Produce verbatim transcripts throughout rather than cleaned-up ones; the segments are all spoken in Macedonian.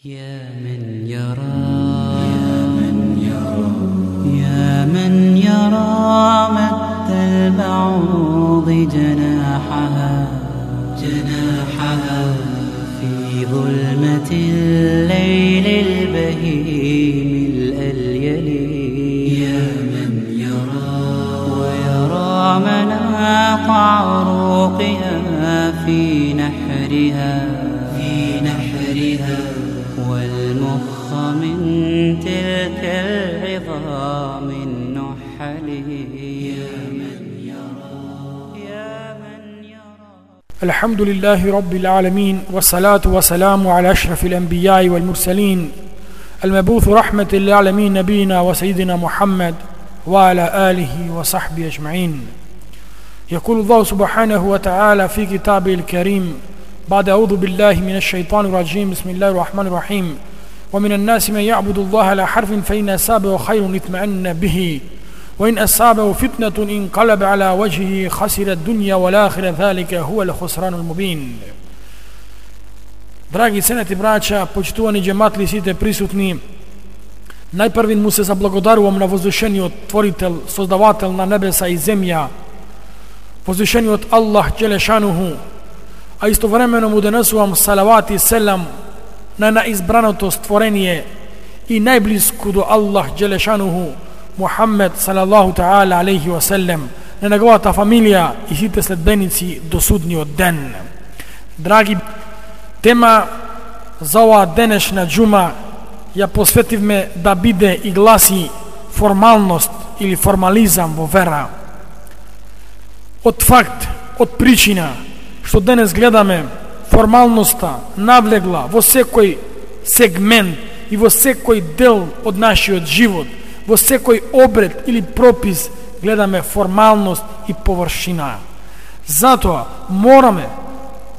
يا من يرى يا من يرى يا من يرى مد البعوض جناحها جناحها في ظلمة الليل البهيم الأليل. يا من يرى ويرى مناط عروقها في نحرها في نحرها والمخ من تلك العظام النحل. يا من يرى يا من يرى. الحمد لله رب العالمين، والصلاة والسلام على أشرف الأنبياء والمرسلين المبعوث رحمة للعالمين نبينا وسيدنا محمد وعلى آله وصحبه أجمعين. يقول الله سبحانه وتعالى في كتابه الكريم بعد أعوذ بالله من الشيطان الرجيم بسم الله الرحمن الرحيم: ومن الناس من يعبد الله على حرف فإن أصابه خير اطمأن به وإن أصابه فتنة انقلب على وجهه خسر الدنيا والآخرة ذلك هو الخسران المبين. Драги сенати браќа, почитувани џематли, сите присутни, најпрвин му се заблагодарувам на возвишениот Творител, Создавател на небеса и земја, возвишениот Аллах Џелешануху, а истовремено му донесувам салават и селам на наизбраното створение и најблиску до Аллах Џелешануху Мухаммед салаллаху таала алейхи ва селем, на неговата фамилија и сите следбеници до судниот ден. Драги, тема за оваа денешна џума ја посветивме да биде и гласи формалност или формализам во вера. Од факт, од причина што денес гледаме формалноста навлегла во секој сегмент и во секој дел од нашиот живот, во секој обред или пропис гледаме формалност и површина. Затоа мораме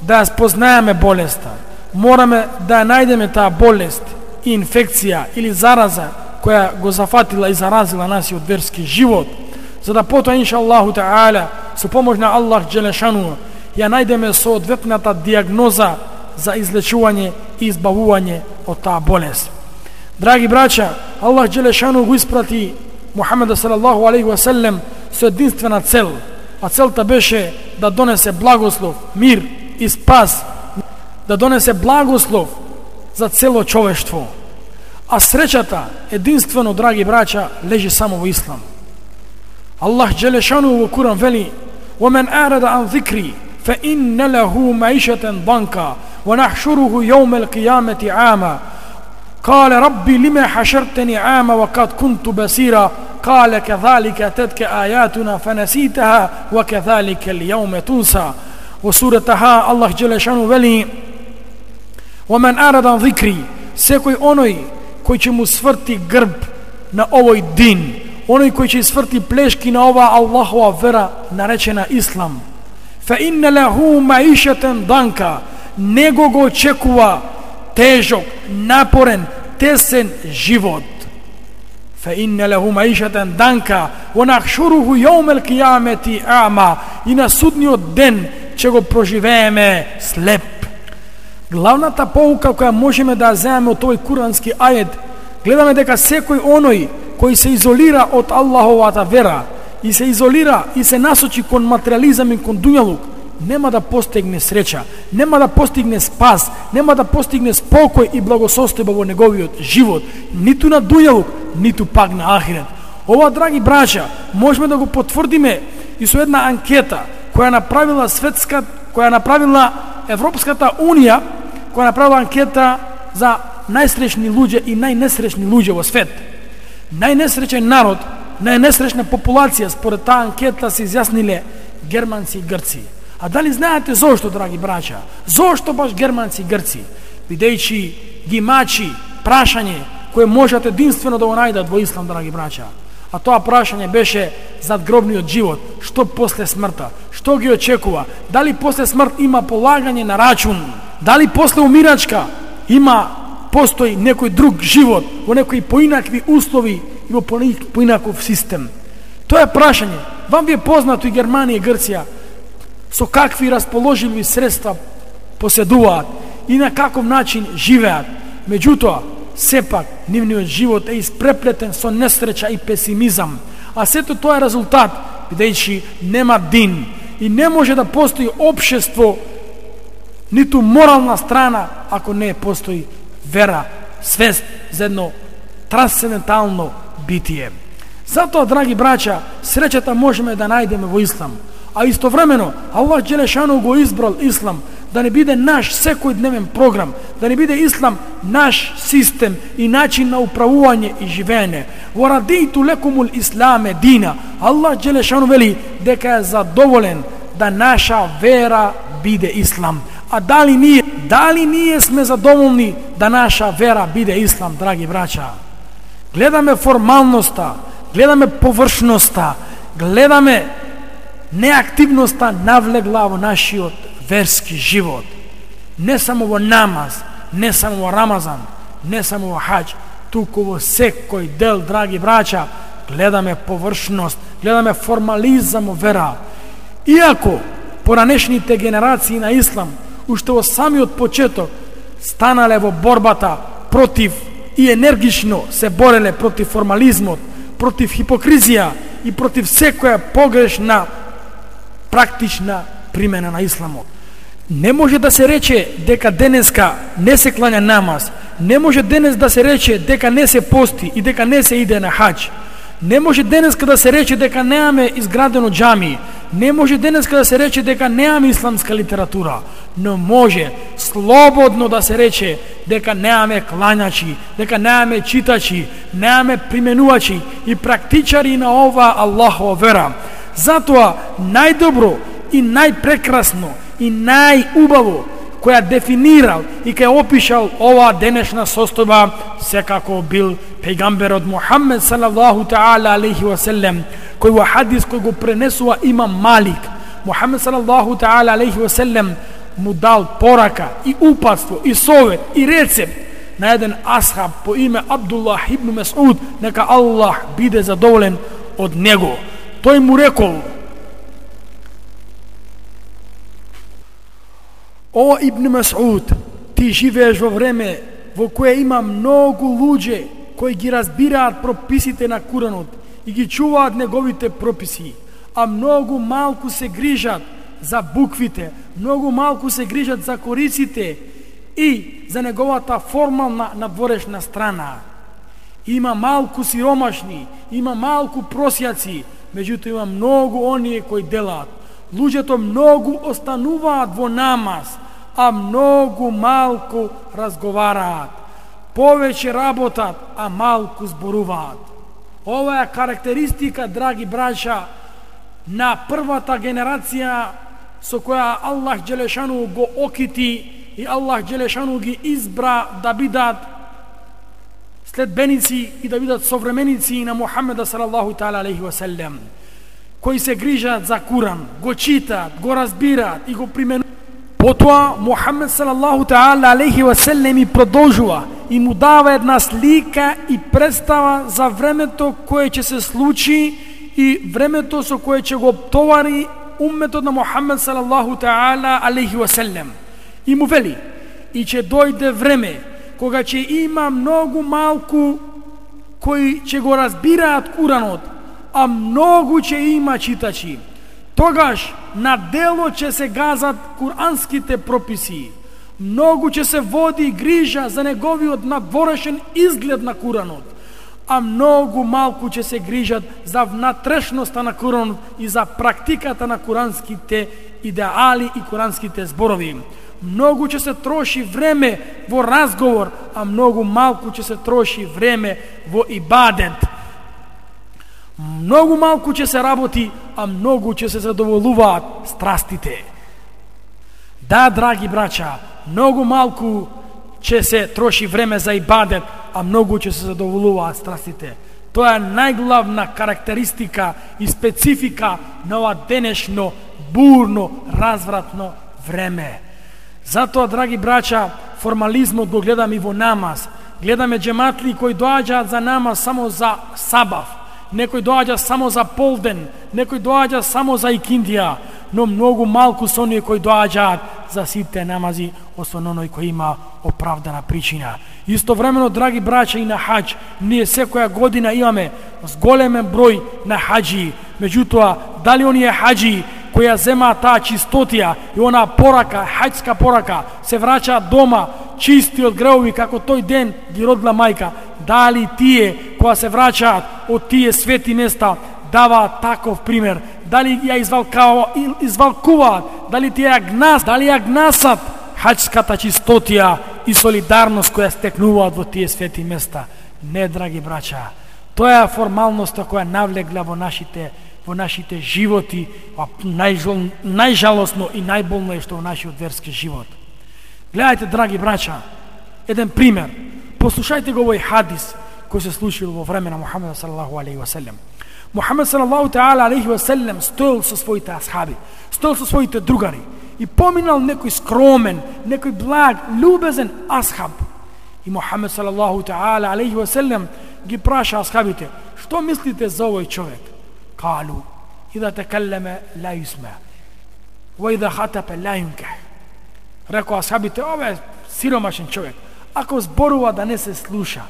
да ја спознаеме болеста, мораме да ја најдеме таа болест и инфекција или зараза која го зафатила и заразила насиот верски живот, за да потоа иншаллаху таала со помош на Аллах Џелешану ја најдеме соодветната диагноза за излечување и избавување од таа болест. Драги браќа, Аллах Џелешану го испрати Мухаммеда салаллаху алейхи ва селем со единствена цел, а целта беше да донесе благослов, мир и спас, да донесе благослов за цело човештво. А среќата, единствено, драги браќа, лежи само во ислам. Аллах Џелешану во Куран вели: وَمَنْ أَعْرَضَ عَنْ ذِكْرِي فَإِنَّ لَهُ مَعِيشَةً ضَنكًا وَنَحْشُرُهُ يَوْمَ الْقِيَامَةِ أَعْمَى قال ربي لما حشرتني عاما وقد كنت بصيرا قال كذلك أتتك آياتنا فنسيتها وكذلك اليوم تنسى. وسورتها الله جل شانه вели: ومن أعرض عن ذكري, секој оној кој ќе му сврти грб на овој дин, оној кој ќе сврти плешки на оваа Аллахова вера наречена Ислам, فإن له معيشة ضنكا, него го очекува тежок, напорен, тесен живот. فإن له معيشة ضنكا ونحشره يوم القيامة أعمى, и на судниот ден ќе го проживееме слеп. Главната поука која можеме да земеме од овој курански ајет, гледаме дека секој оној кој се изолира од Аллаховата вера и се изолира и се насочи кон материализам и кон дуњалук, нема да постигне среќа, нема да постигне спас, нема да постигне спокој и благосостојба во неговиот живот, ниту на дуњалук, ниту пак на ахирет. Ова, драги браќа, можеме да го потврдиме и со една анкета која направила светска, која направила Европската унија, која направила анкета за најсреќни луѓе и најнесреќни луѓе во свет. Најнесреќен народ, најнесреќна популација според таа анкета се изјасниле германци и грци. А дали знаете зошто, драги браќа? Зошто баш германци и грци? Бидејќи ги мачи прашање кое можат единствено да го најдат во Ислам, драги браќа. А тоа прашање беше задгробниот живот, што после смртта, што ги очекува, дали после смрт има полагање на рачун, дали после умирачка има, постои некој друг живот, во некои поинакви услови и во поинаков систем. Тоа е прашање. Вам ви е познато и Германија и Грција со какви расположливи средства поседуваат и на каков начин живеат. Меѓутоа, сепак, нивниот живот е испреплетен со несреќа и песимизам, а сето тоа е резултат, бидејќи нема дин и не може да постои општество, ниту морална страна, ако не постои вера, свест за едно трансцендентално битие. Затоа, драги браќа, среќата можеме да најдеме во ислам, а истовремено Аллах Джелешану го избрал ислам да не биде наш секојдневен програм, да не биде ислам наш систем и начин на управување и живење. Во радејту лекумул исламе дина. Аллах Джелешану вели дека е задоволен да наша вера биде ислам. А дали ние, дали ние сме задоволни да наша вера биде ислам, драги браќа? Гледаме формалноста, гледаме површноста, гледаме неактивноста навлегла во нашиот верски живот. Не само во намаз, не само во Рамазан, не само во хаџ, туку во секој дел, драги браќа, гледаме површност, гледаме формализам во вера. Иако поранешните генерации на ислам уште во самиот почеток станале во борбата против и енергично се бореле против формализмот, против хипокризија и против секоја погрешна практична примена на исламот. Не може да се рече дека денеска не се клања намаз, не може денес да се рече дека не се пости и дека не се иде на хаџ. Не може денеска да се рече дека немаме изградено џами, не може денеска да се рече дека немаме исламска литература, но може слободно да се рече дека немаме клањачи, дека немаме читачи, немаме применувачи и практичари на ова Аллахова вера. Затоа најдобро и најпрекрасно и најубаво која дефинирал и која опишал ова денешна состојба секако бил пејгамберот Мухаммед салаллаху таала алейхи ва селем, кој во хадис кој го пренесува имам Малик. Мухаммед салаллаху таала алейхи ва селем му дал порака и упатство и совет и рецепт на еден асхаб по име Абдуллах ибн Месуд, нека Аллах биде задоволен од него. Тој му рекол: О Ибн Месуд, ти живееш во време во кое има многу луѓе кои ги разбираат прописите на Куранот и ги чуваат неговите прописи, а многу малку се грижат за буквите, многу малку се грижат за кориците и за неговата формална надворешна страна. Има малку сиромашни, има малку просјаци, меѓутоа има многу оние кои делаат. Луѓето многу остануваат во намаз, а многу малку разговараат. Повеќе работат, а малку зборуваат. Ова е карактеристика, драги браќа, на првата генерација со која Аллах Джелешану го окити и Аллах Джелешану ги избра да бидат следбеници и да бидат современици на Мухаммеда салаллаху таала алейхи ва селем, кои се грижат за Куран, го читат, го разбираат и го применуваат. Потоа Мухаммед салаллаху таала алейхи ва селем и продолжува и му дава една слика и представа за времето кое ќе се случи и времето со кое ќе го товари умметот на Мухаммед салаллаху таала алейхи ва селем. И му вели: и ќе дојде време кога ќе има многу малку кои ќе го разбираат Куранот, а многу ќе има читачи. Тогаш на дело ќе се газат куранските прописи. Многу ќе се води грижа за неговиот надворешен изглед на Куранот, а многу малку ќе се грижат за внатрешноста на Куранот и за практиката на куранските идеали и куранските зборови. Многу ќе се троши време во разговор, а многу малку ќе се троши време во ибадет. Многу малку ќе се работи, а многу ќе се задоволуваат страстите. Да, драги браќа, многу малку ќе се троши време за ибадет, а многу ќе се задоволуваат страстите. Тоа е најглавна карактеристика и специфика на ова денешно бурно, развратно време. Затоа, драги браќа, формализмот го гледаме и во намаз. Гледаме џематли кои доаѓаат за намаз само за сабав, некој доаѓа само за полден, некој доаѓа само за икиндија. но многу малку се оние кои доаѓаат за сите намази, освен оној кој има оправдана причина. Истовремено, драги браќа, и на хаџ, ние секоја година имаме зголемен број на хаџи. Меѓутоа, дали оние хаџи кои ја земаат таа чистотија и она порака, хаџска порака, се враќаат дома чисти од греови како тој ден ги родила мајка, дали тие кои се враќаат од тие свети места даваат таков пример, дали ја извалкуваат, дали тие ја гнас, дали ја гнасат хаџската чистотија и солидарност која стекнуваат во тие свети места? Не, драги браќа, тоа е формалноста која навлегла во нашите во нашите животи, а најжал, најжалосно и најболно е што во нашиот верски живот. Гледајте, драги браќа, еден пример. Послушајте го овој хадис кој се случил во време на Мухамед салаллаху алейхи ва селем. Мухамед салаллаху таала алейхи ва селем стоел со своите асхаби, стоел со своите другари и поминал некој скромен, некој благ, љубезен асхаб. И Мухамед салаллаху таала алейхи ва селем ги праша асхабите: што мислите за овој човек? Калу: ида текелеме ла юсма, ва ида хатапе ла юнках. Рекоа асхабите: овој сиромашен човек, ако зборува да не се слуша,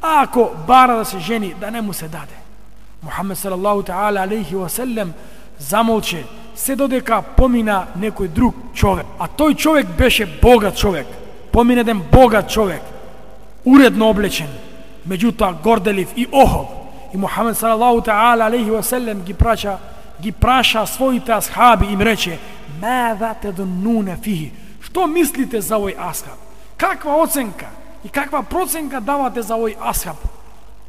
а ако бара да се жени, да не му се даде. Мухамед салаллаху таала алейхи ва селем замолче, се додека помина некој друг човек, а тој човек беше богат човек. Помина еден богат човек, уредно облечен, меѓутоа горделив и охол. И Мухамед салаллаху таала алейхи ва селем ги праша, ги праша своите асхаби и им рече: "Мада тадуннуна фихи?" Што мислите за овој асхаб? Каква оценка и каква проценка давате за овој асхаб?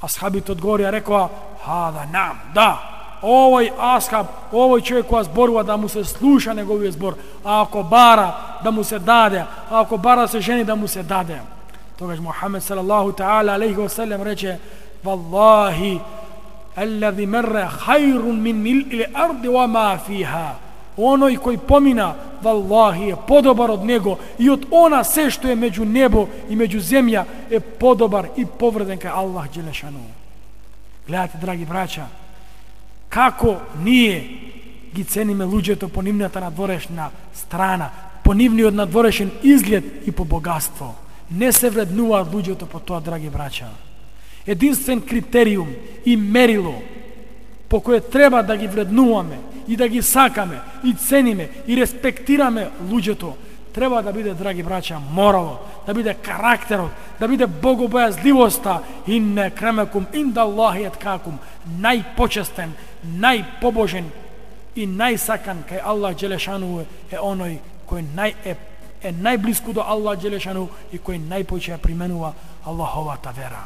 Асхабите одговорија, рекоа: "Хада нам, да, овој асхаб, овој човек кој зборува да му се слуша неговиот збор, а ако бара да му се даде, а ако бара да се жени да му се даде." Тогаш Мухамед салаллаху таала алейхи ва селем рече: "Валлахи, аллади мерре хајрун мин мил'ил арди ва ма фиха." Оној кој помина, валлахи, е подобар од него и од она се што е меѓу небо и меѓу земја е подобар и повреден кај Аллах Джелешану. Гледате, драги браќа, како ние ги цениме луѓето по нивната надворешна страна, по нивниот надворешен изглед и по богатство. Не се вреднуваат луѓето по тоа, драги браќа. Единствен критериум и мерило по кое треба да ги вреднуваме и да ги сакаме и цениме и респектираме луѓето, треба да биде, драги браќа, морало, да биде карактерот, да биде богобојазливоста. Инне кремекум инда Аллахи еткакум, најпочестен, најпобожен и најсакан кај Аллах Джелешану е оној кој нај е, е најблиску до Аллах Джелешану и кој најпоќе применува Аллаховата вера.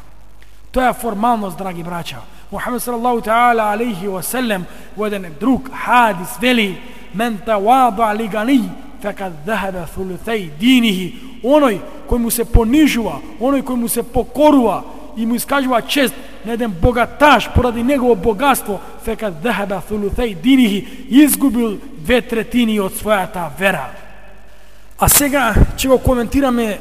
Тоа е формалност, драги браќа. Мухамед салаллаху таала алейхи ва селем во еден друг хадис вели: "Мен тавада ли гани фекад захаба thuluthai динихи." Оној кој му се понижува, оној кој му се покорува и му искажува чест на еден богаташ поради негово богатство, фекад захаба thuluthai динихи, изгубил две третини од својата вера. А сега ќе го коментираме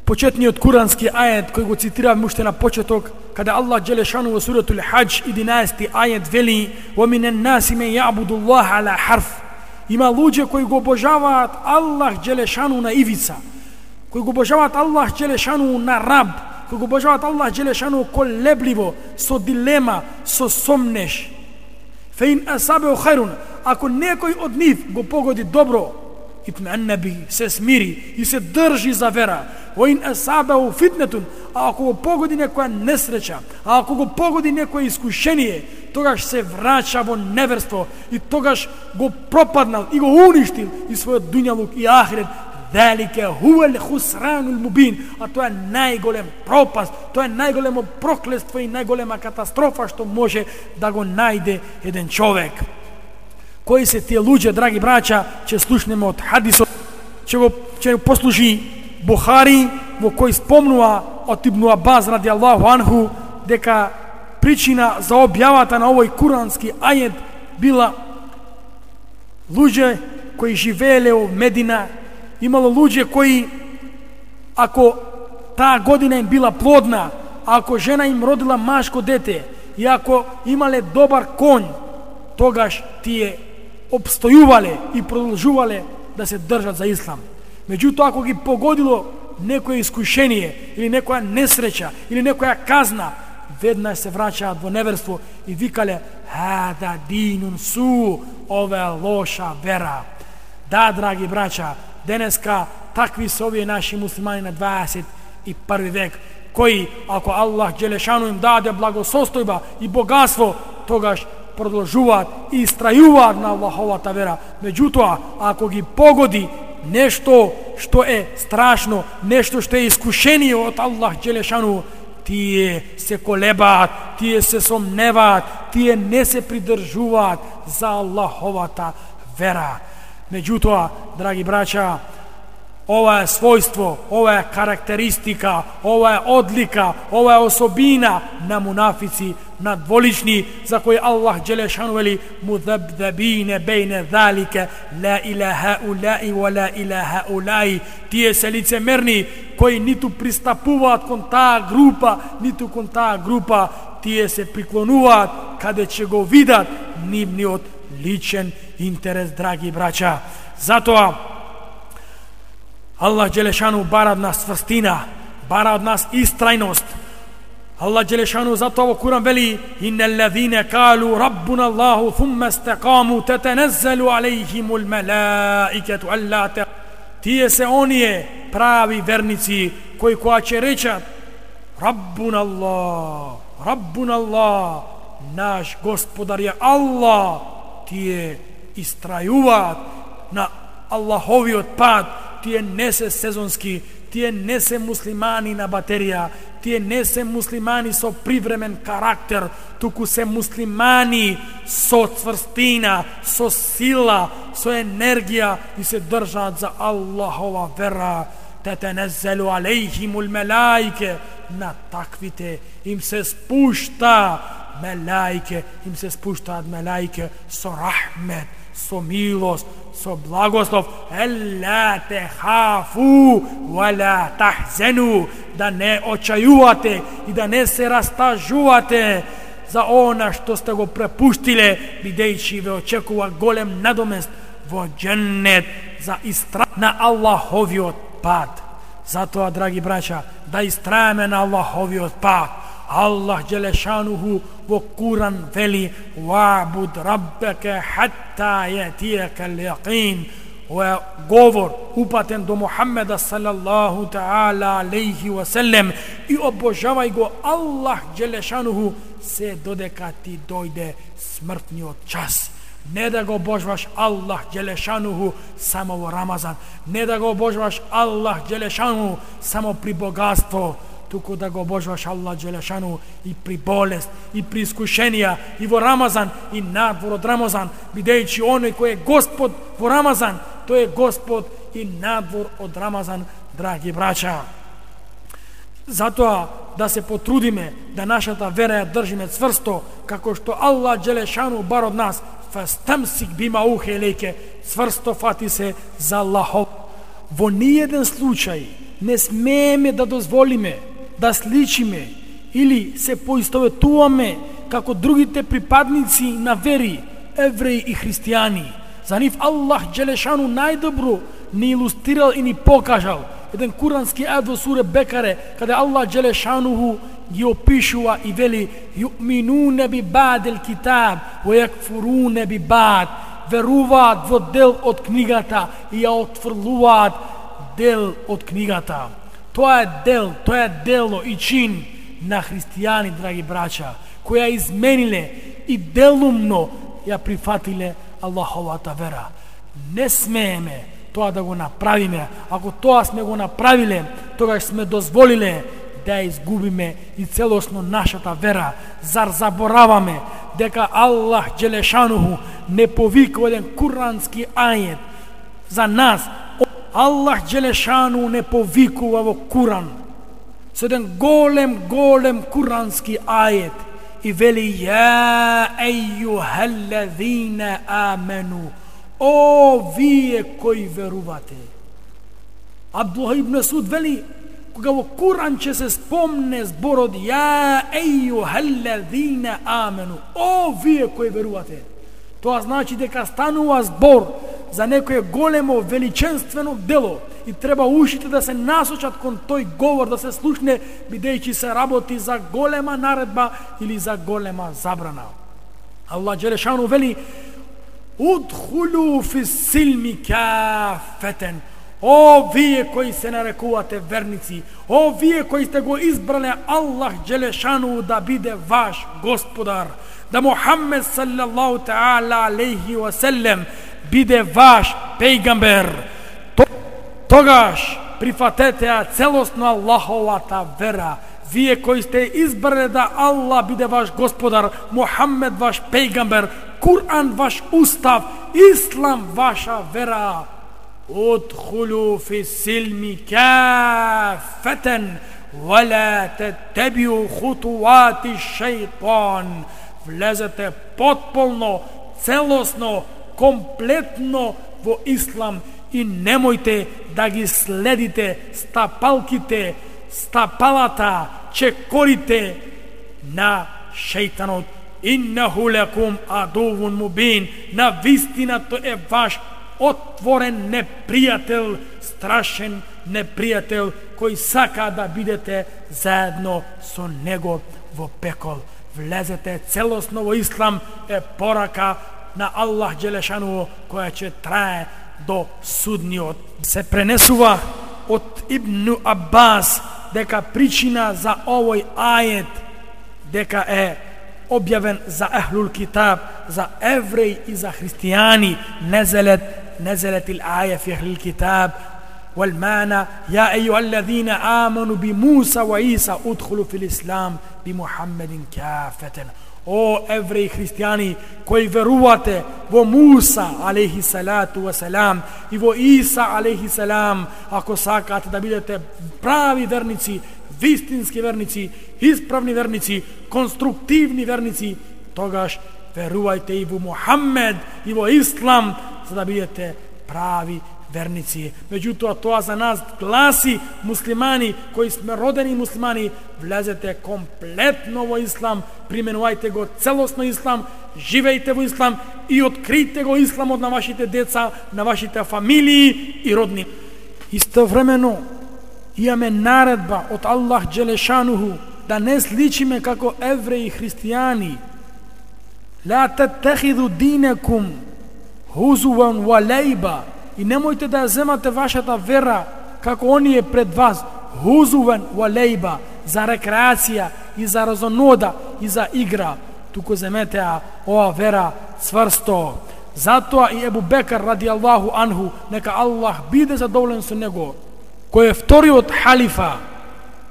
почетниот курански ајет кој го цитиравме уште на почеток, каде Аллах Джелешану во суратул Хаџ единаесети ајет вели: "Ва минен наси мен јабуду Аллах ала харф." Има луѓе кои го обожаваат Аллах Джелешану на ивица, кои го обожаваат Аллах Джелешану на раб, кои го обожаваат Аллах Джелешану колебливо, со дилема, со сомнеш. Феин асабеу хајрун, ако некој од нив го погоди добро, итмеанна би, се смири и се држи за вера. Воин асабеу фитнетун, а ако го погоди некоја несреќа, а ако го погоди некој искушение, тогаш се враќа во неверство и тогаш го пропаднал и го уништил и својот дуњалук и ахирет. Велике хуел хусранул мубин, а тоа е најголем пропаст, тоа е најголемо проклество и најголема катастрофа што може да го најде еден човек. Кои се тие луѓе, драги браќа, ќе слушнеме од хадисот, ќе го ќе послужи Бухари, во кој спомнува од Ибн Абас ради Аллаху анху дека причина за објавата на овој курански ајет била луѓе кои живееле во Медина. Имало луѓе кои, ако таа година им била плодна, ако жена им родила машко дете и ако имале добар конј, тогаш тие обстојувале и продолжувале да се држат за ислам. Меѓутоа, ако ги погодило некое искушение или некоја несреќа или некоја казна, веднаш се враќаат во неверство и викале хада динун су, ова е лоша вера. Да, драги браќа, денеска такви се овие наши муслимани на дваесет и први век, кои, ако Аллах Джелешану им даде благосостојба и богатство, тогаш продолжуваат и истрајуваат на Аллаховата вера. Меѓутоа, ако ги погоди нешто што е страшно, нешто што е искушение од Аллах Джелешану, тие се колебаат, тие се сомневаат, тие не се придржуваат за Аллаховата вера. Меѓутоа, драги браќа, ова е својство, ова е карактеристика, ова е одлика, ова е особина на мунафици, на дволични, за кои Аллах Джелешану вели мудабдабине бейне залике, ла илаха улаи ва ла илаха улаи. Тие се лицемерни, кои ниту пристапуваат кон таа група, ниту кон таа група, тие се приклонуваат каде ќе го видат нивниот личен интерес, драги браќа. Затоа Аллах Джелешану бара од нас цврстина, бара од нас истрајност. Аллах Джелешану затоа во Куран вели иннал лазина калу раббуна Аллаху thumma istaqamu tatanazzalu алейхимул малаикату алла та. Тие се оние прави верници кои кога ќе речат раббуна Аллах, раббуна Аллах, наш Господар е Аллах, тие истрајуваат на Аллаховиот пат. Тие не се сезонски, тие не се муслимани на батерија, тие не се муслимани со привремен карактер, туку се муслимани со цврстина, со сила, со енергија и се држат за Аллахова вера. Татаназзалу алейхимул малаике, на таквите им се спушта малаике, им се спуштаат малаике со рахмет, со милост, со благослов. Елла те хафу вала тахзену, да не очајувате и да не се растажувате за она што сте го препуштиле, бидејќи ве очекува голем надомест во џеннет за истра на Аллаховиот пат. Затоа, драги браќа, да истраеме на Аллаховиот пат. Аллах Джелешануху во Куран вели ва'буд раббака хатта јатијака л-јақин. Ова е говор упатен до Мухаммеда салаллаху таала алейхи ва селем и обожавај го Аллах Джелешануху се додека ти дојде смртниот час. Не да го обожваш Аллах Джелешануху само во Рамазан, не да го обожваш Аллах Джелешануху само при богатство, туку да го обожваш Аллах Джелешану и при болест, и при искушенија, и во Рамазан, и надвор од Рамазан, бидејќи оној кој е Господ во Рамазан, тој е Господ и надвор од Рамазан, драги браќа. Затоа да се потрудиме да нашата вера ја држиме цврсто, како што Аллах Джелешану бар од нас, фастамсик бима ухе лейке, цврсто фати се за Аллахов. Во ниеден случај не смееме да дозволиме да сличиме или се поистоветуваме како другите припадници на вери, евреи и христијани. За нив Аллах Джелешану најдобро ни илустрирал и ни покажал еден курански ајет во суре Бекаре, каде Аллах Джелешануху ги опишува и вели ю'минуне би ба'дил китаб ва јакфуруне би ба'д, веруваат во дел од книгата и ја отфрлуваат дел од книгата. Тоа е дел, тоа е дело и чин на христијани, драги браќа, кои ја измениле и делумно ја прифатиле Аллаховата вера. Не смееме тоа да го направиме. Ако тоа сме го направиле, тогаш сме дозволиле да ја изгубиме и целосно нашата вера. Зар забораваме дека Аллах Джелешануху не повикува еден курански ајет за нас? Аллах Джелешану не повикува во Куран со еден голем, голем курански ајет и вели ја ејюхаллазина амену, о вие кои верувате. Абдуллах ибн Масуд вели, кога во Куран ќе се спомне зборот ја ејюхаллазина амену, о вие кои верувате, Тоа значи дека станува збор за некое големо величенствено дело и треба ушите да се насочат кон тој говор, да се слушне, бидејќи се работи за голема наредба или за голема забрана. Аллах Джелешану вели: Удхулу фи силми кафетен. О, вие кои се нарекувате верници, о, вие кои сте го избрале Аллах Джелешану да биде ваш господар, да Мухаммед саллаллаху таала алейхи ва селем биде ваш пејгамбер, тогаш прифатете ја целосно Аллаховата вера. Вие кои сте избрале да Аллах биде ваш господар, Мухаммед ваш пејгамбер, Кур'ан ваш устав, Ислам ваша вера. Удхулу фи силми кафетен вала теттебиу хутуати шејтан. Влезете потполно, целосно, комплетно во Ислам и немојте да ги следите стапалките, стапалата, чекорите на шејтанот. Иннаху лекум адувун мубин. На вистина тој е ваш отворен непријател, страшен непријател, кој сака да бидете заедно со него во пекол. Влезете целосно во Ислам е порака на Аллах Джелешану, која ќе трае до судниот. Се пренесува од Ибн Аббас дека причина за овој ајет дека е објавен за Ахлул Китаб, за евреи и за христијани, незелет نزلت الآية في أهل الكتاب والمعنى يا أيها الذين آمنوا بموسى وعيسى ادخلوا في الإسلام بمحمد كافة. О евреи христијани кои верувате во Муса алейхи салату ва салам и во Иса алейхи салам, ако сакате да бидете прави верници, вистински верници, исправни верници, конструктивни верници, тогаш верувајте и во Мухаммед и во Ислам, за да бидете прави верници. Меѓутоа, тоа за нас гласи, муслимани, кои сме родени муслимани, влезете комплетно во Ислам, применувајте го целосно Ислам, живејте во Ислам и откријте го Исламот на вашите деца, на вашите фамилии и родни. Истовремено, имаме наредба од Аллах Джелешануху да не сличиме како евреи и христијани. Ла таттехиду динекум хузуван ва лейба. И немојте да ја земате вашата вера како оние пред вас, хузуван ва лейба, за рекреација и за разонода и за игра. Туку земете ја ова вера цврсто. Затоа и Ебу Бекар ради Аллаху анху, нека Аллах биде задоволен со него, кој е вториот халифа,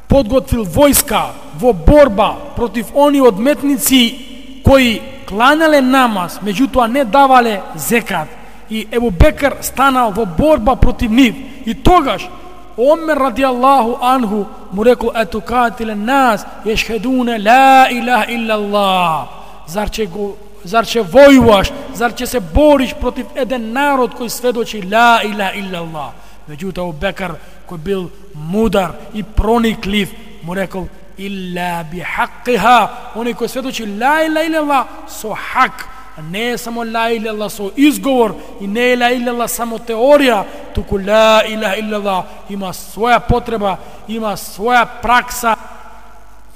подготвил војска во борба против они одметници кои кланеле намаз, меѓутоа не давале зекат. И Ебу Бекар станал во борба против нив. И тогаш Омер ради Аллаху анху му рекол: ето катиле нас ешхедуне ла илаха илла Аллах. Зар ќе го Зар ќе војуваш, зар ќе се бориш против еден народ кој сведочи ла илаха илла Аллах? Меѓутоа Ебу Бекар, кој бил мудар и прониклив, му рекол: илла би хаққиха. Оној кој сведочи ла илаха илла Аллах со хак, не е само ла илаха илла Аллах со изговор, и не е ла илаха илла Аллах само теорија, туку ла илаха илла Аллах има своја потреба, има своја пракса.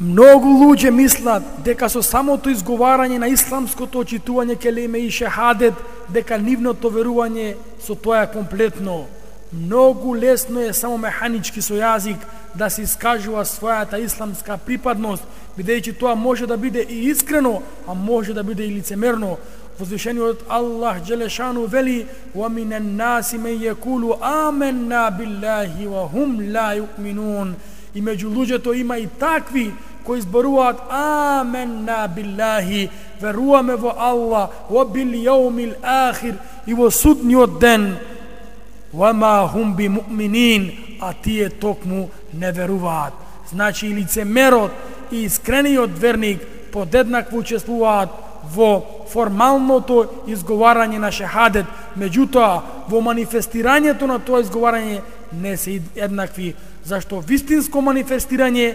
Многу луѓе мислат дека со самото изговарање на исламското очитување келиме и шехадет, дека нивното верување со тоа е комплетно. Многу лесно е само механички со јазик да се искажува својата исламска припадност, бидејќи тоа може да биде и искрено, а може да биде и лицемерно. Возвишениот Аллах Джелешану вели: "Ва минен наси мен јекулу аменна биллахи ва хум ла юъминун." И меѓу луѓето има и такви кои зборуваат аменна биллахи, веруваме во Аллах, ва бил јаумил ахир, и во судниот ден, ва ма хум би муъминин, а тие токму не веруваат. Значи и лицемерот и искрениот верник подеднакво учествуваат во формалното изговарање на шехадет, меѓутоа во манифестирањето на тоа изговарање не се еднакви, зашто вистинско манифестирање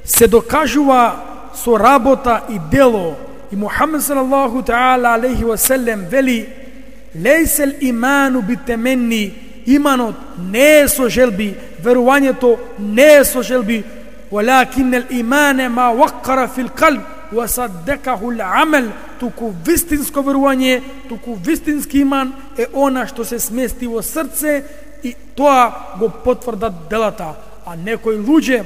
се докажува со работа и дело, И Мухаммед салаллаху таала алейхи ва селем вели: лейсел иману битеменни, иманот не е со желби, верувањето не е со желби, ولكن الإيمان ما وقر في القلب وصدقه العمل. Туку вистинско верување, туку вистински иман е она што се смести во срце и тоа го потврдат делата. А некои луѓе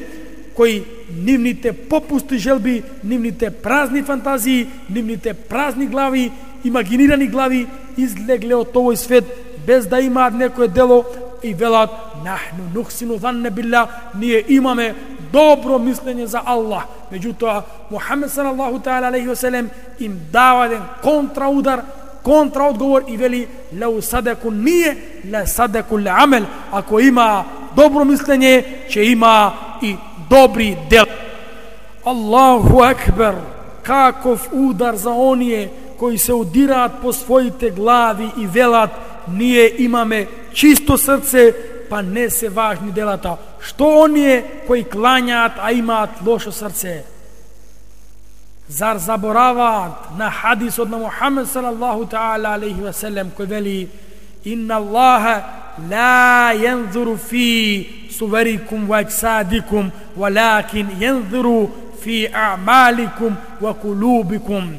кои нивните попусти желби, нивните празни фантазии, нивните празни глави, имагинирани глави излегле од овој свет без да имаат некое дело и велат: нахну нухсину занне билла, ние имаме добро мислење за Аллах. Меѓутоа Мухаммед салаллаху таала алейхи ва селем им дава еден контраудар, контраодговор и вели: лау садаку ние ла садаку амел, ако има добро мислење, ќе има и добри дела. Аллаху акбар, каков удар за оние кои се удираат по своите глави и велат: ние имаме чисто срце, па не се важни делата. Што оние кои клањаат, а имаат лошо срце? Зар забораваат на хадисот на Мухаммед салаллаху таала алейхи ва селем кој вели: инна Аллаха ла јанзуру фи суверикум ва ајсадикум, валакин јанзуру фи аъмаликум ва кулубикум.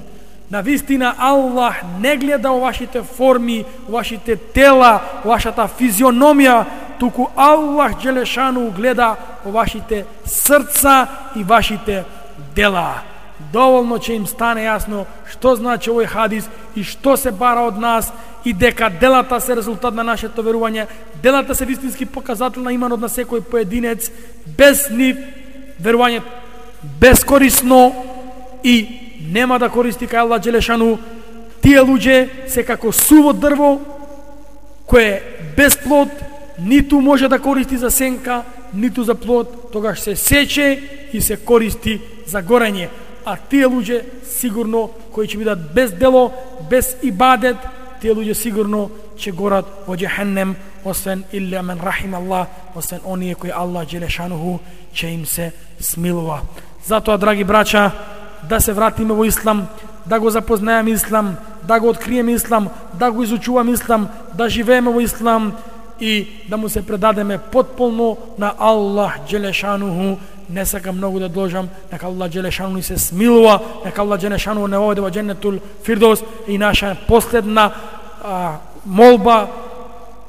Навистина Аллах не гледа во вашите форми, вашите тела, вашата физиономија, туку Аллах Джелешану гледа во вашите срца и вашите дела. Доволно ќе им стане јасно што значи овој хадис и што се бара од нас, и дека делата се резултат на нашето верување. Делата се вистински показател на иманот на секој поединец. Без нив верување бескорисно и нема да користи кај Аллах Джелешану. Тие луѓе се како суво дрво кое без плод ниту може да користи за сенка, ниту за плод, тогаш се сече и се користи за горење. А тие луѓе сигурно кои ќе бидат без дело, без ибадет, тие луѓе сигурно ќе горат во џехеннем, освен илля мен рахим Аллах, освен оние кои Аллах Джелешануху ќе им се смилува. Затоа, драги брача, да се вратиме во Ислам, да го запознаеме Ислам, да го откриеме Ислам, да го изучуваме Ислам, да живееме во Ислам и да му се предадеме потполно на Аллах Джелешануху. Не сакам многу да должам, нека Аллах Джелешану ни се смилува, нека Аллах Джелешану не оведе во Дженнетул Фирдос. И наша последна а, молба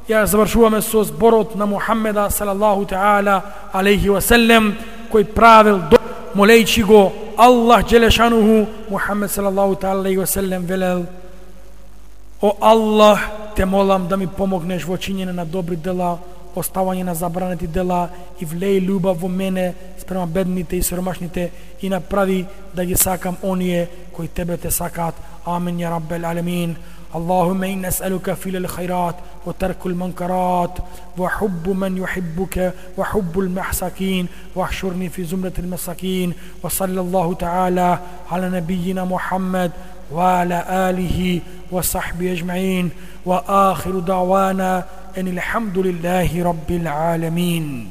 ја завршуваме со зборот на Мухаммеда салаллаху таала алейхи ва селем, кој правил до молејчи го Аллах Джелешануху. Мухаммед салаллаху таала алейхи ва селем велел: о Аллах, те молам да ми помогнеш во чинење на добри дела, оставање на забранети дела и влеј љубов во мене спрема бедните и сиромашните и направи да ги сакам оние кои тебе те сакаат. Амин ја раббел алемин. اللهم إنا نسألك فعل الخيرات وترك المنكرات وحب من يحبك وحب المحسكين واحشرني في زمرة المساكين. وصلى الله تعالى على نبينا محمد وعلى آله وصحبه أجمعين. وآخر دعوانا أن الحمد لله رب العالمين.